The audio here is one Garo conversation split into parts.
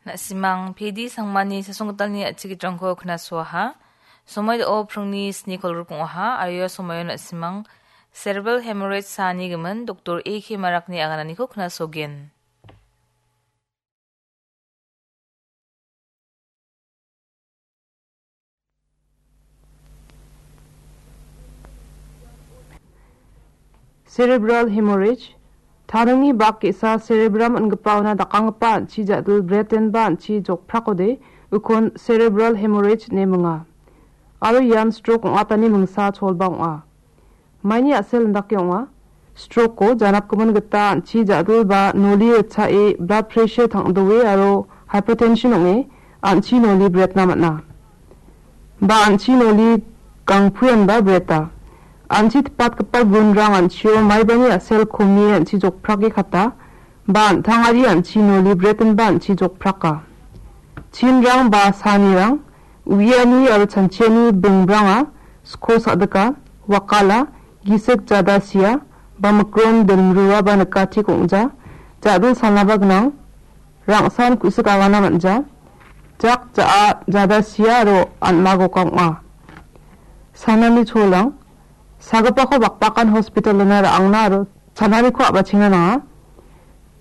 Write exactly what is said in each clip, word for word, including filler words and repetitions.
Na·simang P D Sangmani sasonggitalni a·chigitrangko knasoaha. Somoi do·o pringni sni kolgrikong ong·aha, aro ia somoio na·simang cerebral hemorrhage saani gimin Doktor A K Marakni agananiko knasogen. Cerebral hemorrhage, taningni bak ge·sa cerebrum ingipaona dakanggipa an·chi ja·dil bretenba an·chi jokprakode ukon cerebral hemorrhage ine minga. Aro ian stroke ong·atani mingsa cholba ong·a. Maini a·sel indake ong·a. Stroke-o janapgimin gita an·chi ja·dil ba noli ritchae blood pressure tang·doe aro hypertension ong·e an·chi noli bretna man·a. Ba an·chi noli gangpuianba breta. An·chi tipatgipa gunrang an·chio maibani a·sel komie an·chi jokprake kata, ba an·tangari an·chi noli bretenba an·chi jokpraka. Chinrang ba sanirang, uiani aro chanchiani bingbranga, sko sa·dika, wakala, gisik jada sia, ba mikron dilmrua ba nikati kong·ja, ja·dil salnaba gnang, rangsan ku·sik agana man·ja, jak ja·a jada sia aro an·magoka ong·a. Sanani cholang, sagipako bakbakan hospitalona ra·angna aro chananiko a·bachengna nanga.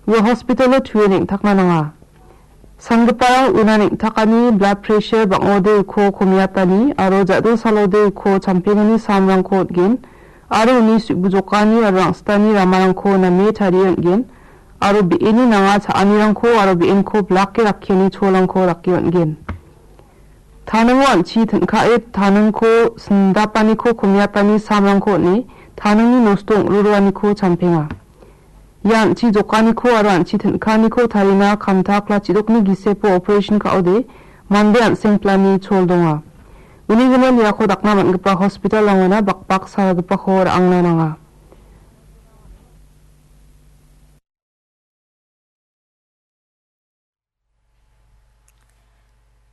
Ua hospitalo tue neng·takna nanga. Sanggiparang una neng·takani blood pressure bang·ode uko komiatani aro ja·dil salode uko champengani samrangko on·gen aro uni su·bujokani aro rang·sitani ramarangko name tarie on·gen aro be·eni nanga cha·anirangko aro be·enko bilake rakkiani cholangko rake on·gen. Taningo an·chi tin·kae taningko sindapaniko komiatani samrangko on·e taningni nosto ong·roroaniko champenga. Ia an·chi jokaniko aro an·chi tin·kaniko tarina kamta klachidokni gisepo operation ka·ode mande an·seng plani chol donga. Uni gimin iako dakna man·gipa hospital-rangona bakbak salgipako ra·angna nanga.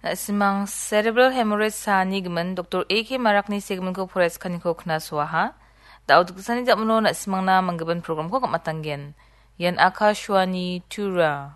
Na·simang cerebral hemorrhage saani gimin Doktor A K Marakni segiminko poraiskaniiko knasoaha. Da·o dikgisani ja·mano na·simangna manggimin programko gam·atanggen. Ian Akashvani Tura.